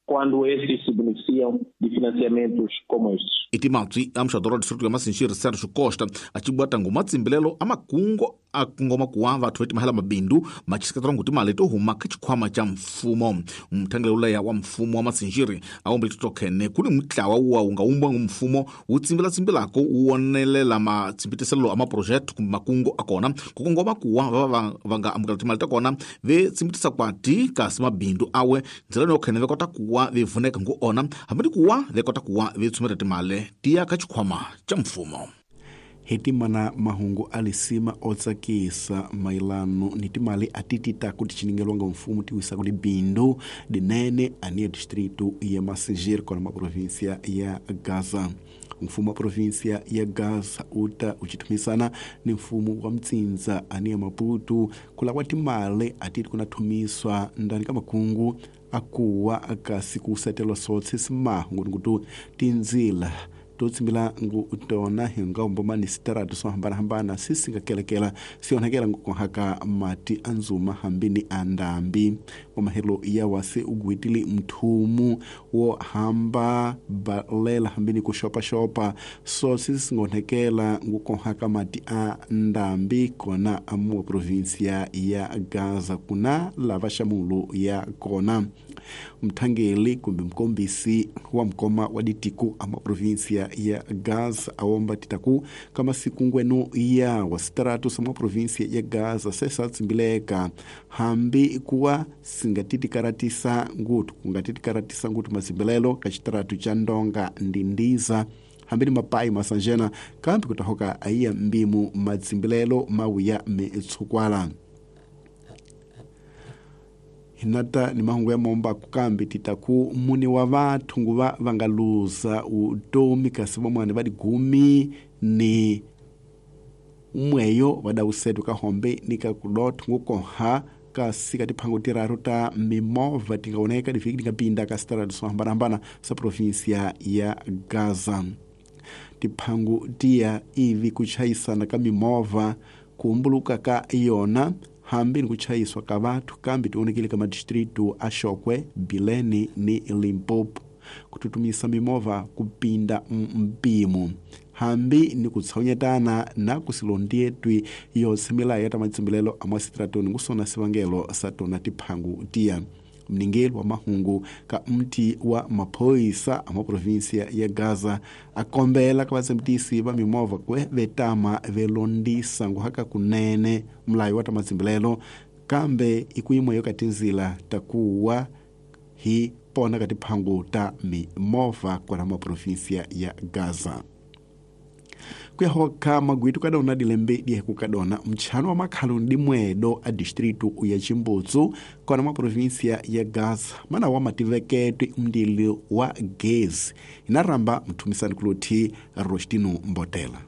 quando estes se beneficiam de financiamentos como estes. Itimatswi a muxadoro wa distrito ya Masinjiri Sérgio Costa a cibwata ngoma tsimbilelo a makungo a kongoma kuwa vathu vetimahela mabindu machiseketela ngu timali to huma ka xikhwama xa mfumo. Muthangelelo leya wa mfumo wa Masinjiri a wombele titokhene ku ni mutlawa wuwa wu nga wumbiwa ngu mfumo wu tsimbilatsimbilako wu wonelela matshimbitiselo a maproject kumbe makungu a kona ku kongoma kuwa va va nga amukela timali ta kona ve tsimbitisa kwati kasi mabindu awe ndzela yo khene ve kota kuwa ve vuneka ngu ona hambi ni kuwa ve kota kuwa ve tsumela timali tiya ka xikhwama xa mfumo. Hetimana mahungu alisima otsakisa mailano ni timali atitita kuti chiningelwanga mfumo tiwisa kuti bindu dinene ania distrito ya Massingir kona ma província ya Gaza. Mfumo wa província ya Gaza uta uchitumisana ni mfumo wa Mtsinza ania Maputo kula kwa timali atiti kunathumiswa ndani ka makungu akuwa akasi kusetelwa sotse simahungu nikutu tinzila totsimbila ngu tona hinga umbomani sitaratu so hambana-hambana sisingakelekela sionhakela ngukonhaka mati anzuma hambini andambi wamahelo ya wase ugwitili mthumu wo hamba balela hambini kuxopaxopa so sisingonhekela ngukonhaka mati a ndambi kona amuwa província ya Gaza kuna lava xamulo ya kona. Mthangeli kumbe mkombisi wa mkoma wa ditiko ama província ya Gaza awomba titaku kama siku ngwenu ya wasitaratu sama província ya Gaza sesa tsimbileka hambi kuwa singatitikaratisa ngutu kungatitikaratisa ngutu mazimbilelo kachitaratu cha ndonga ndindiza hambi ni mapai masanjena kambi kutahoka aiya mbimu mazimbilelo mawuya metshukwala. Hinata ni mahungu ya momba kukambi titaku muni wa vathu nguva vangaluza utomi kasi vamwani vadi gumi ni umweyo vadausetu kahombe nikakudothu ngukoha kasi katiphango tiraru ta mimovha tingaoneka diviki tingapinda kasitaratu so hambana-hambana sa província ya Gaza. Tiphango tiya ivi kuchayisana ka mimovha kuumbuluka ka yona hambi ni kuchayiswa ka vathu kambi tionekile ka madistritu a Xokwe, Bilene ni Limpopo kututumisa mimovha kupinda mpimo hambi ni kutshonyetana na kusilondietwi yotsemela ya ta matsimbilelo a mwasitratoni ngusona sivangelo sa tona tiphangu tiya. Mningeli wa mahungu ka mti wa maphoyisa a maprovinsia ya Gaza akombela ka vatsembitisi va mimovha kwe vetama velondisa nguhaka kunene mulayo wa ta matsimbilelo kambe ikuyimo yo ka tinzila takuwa hi pona ka tiphangu ta mimovha kwala maprovinsia ya Gaza. Kuyahoka magwitu kadona dilembe dieku kadona mchano wa makhalo ndi mwedo a distritu ya Chimbutsu kona ma província ya Gaza mana wa mativeketwe mndili wa gezi inaramba mthumisani kulothi Rostino Mbotela.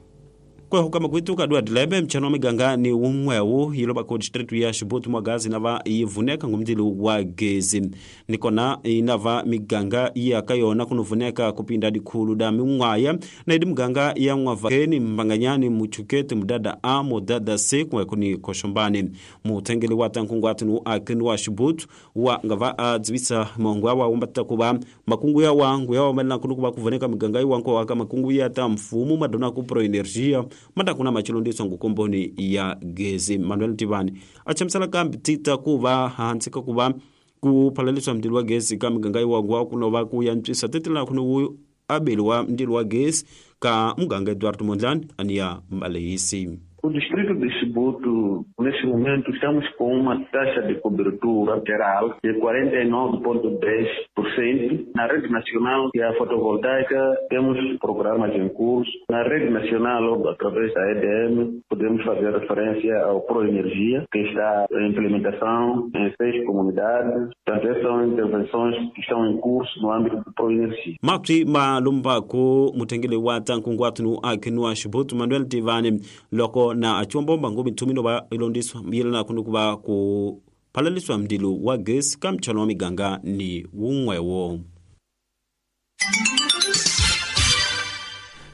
Kuyahoka magwitu kadua dilembe mchano wa miganga ni umwewu yiloba ko distritu ya Chibutu mwa Gaza inava yivuneka ngumndili wa gezi nikona inava miganga iya kayona kunuvuneka kupinda dikhulu da mingwaya na idi miganga ya mwavakeni mbanganyani muchukete mudada A mudada C kumwekuni koshombani mutengeli wa tankungu atinu akini wa Chibutu wa ngava adzibisa mongo awa umbata kuba makungu ya wangu ya wamelana kunukuba kuvuneka miganga iwanko waka makungu ya ta mfumu madona kupro energia mata kuna machilondiso ngukomboni ya gezi. Manuel Tivani achamsala kambi tita kuva hantsika kuva kuphalaliswa mndili wa gezi ka miganga iwangwa kunova kuyantswisa tetela kuno abeli wa mndili wa gezi ka muganga Eduardo Mondlane ania mbalehisi. O distrito de Chibuto, neste momento, estamos com uma taxa de cobertura geral de 49,10%. Na rede nacional e a fotovoltaica, temos programas em curso. Na rede nacional, através da EDM, podemos fazer referência ao ProEnergia, que está em implementação em 6 comunidades. Portanto, essas são intervenções que estão em curso no âmbito do ProEnergia. Mapti malumbako mutengele wa tankunguatunu akinua Chibuto Manuel Tivani loko na achombomba ngobi nthumino ba ilondiswa yelana kunukuba ku phalaliswa mndilo wa gesi ka mchano wa miganga ni wungwewo.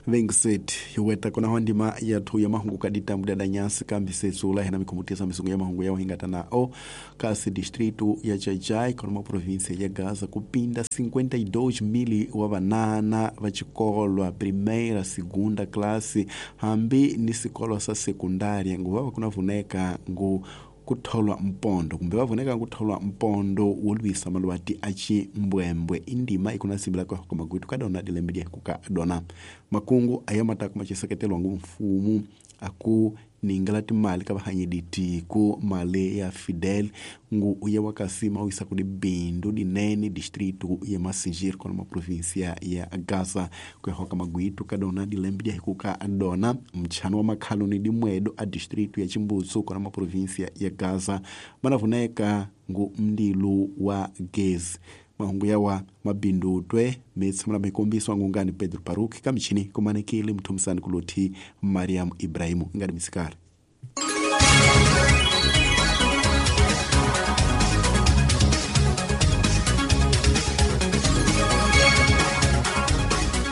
Vengset hiweta kona ho ndima yathu ya mahungu ka ditambu da nyasi kambi setsula hena mikhumutisa misungu ya mahungu ya hingata nao kasi distrito ya Xai-Xai kona província ya Gaza kupinda 52,000 wa vanana va xikolwa primeira segunda classe hambi ni sikolo sa sekundária nguva va kuna vuneka ngu kutholwa mpondo kumbe va vuneka kutholwa mpondo wo lwisa malwati a ximbwembwe indima ikuna simbila kwa magwitu kadona dilembe dia kuka dona makungu aya mataka machiseketelwa ngu mfumu aku ningela timali ka vahanyedi tiko mali ya Fidel ngu uya wakasima uisa kudi bindu dinene distrito ya Massingir kona ma província ya Gaza kuyahoka magwitu kadona dilembe dia hikuka dona mchano wa makhaloni dimwedo a distrito ya Chimbutsu kona ma província ya Gaza manavuneka ngu mdilu wa gezi mahungu yawa mabindutwe mitshamula mikombiswa ngungani Pedro Paruki kamichini kumanekile mthumisani kuluthi Mariam Ibrahimu ingadi misikari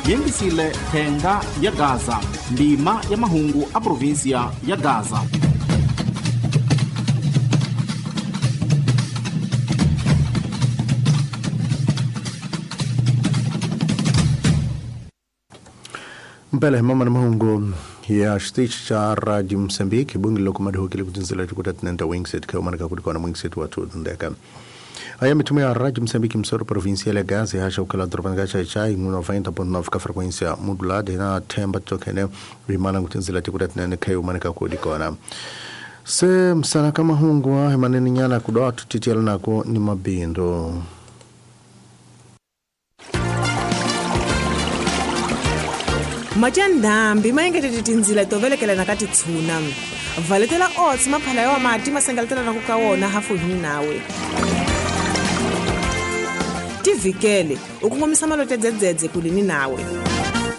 Yengisile thenga ya Gaza ndima ya mahungu a província ya Gaza. Mpele mama na mahungu ya xitichi xa Radio Mozambique bungi loko madihokile ku tindzela tikuta tinenta wingset kha umaneka kuti kona wingset wa tutundeka aya mithumo ya Radio Mozambique msoro província ya Gaza haxa ukela dorobani ka Xai-Xai 90.9 ka frequência modulada na themba tokene rimana ku tindzela tikuta tinene kha umaneka kuti kona se msana ka mahungu a manene nyana kudoa tutitiela nako ni mabindo. Matya ndhambi ma engetete tindzila to velekelana ka titshuna. Valetela oats maphala ya mati ma sengeletela ku ka wona hafu hini nawe. Tivhikele u kongomisa malote dzedzedze kulini nawe.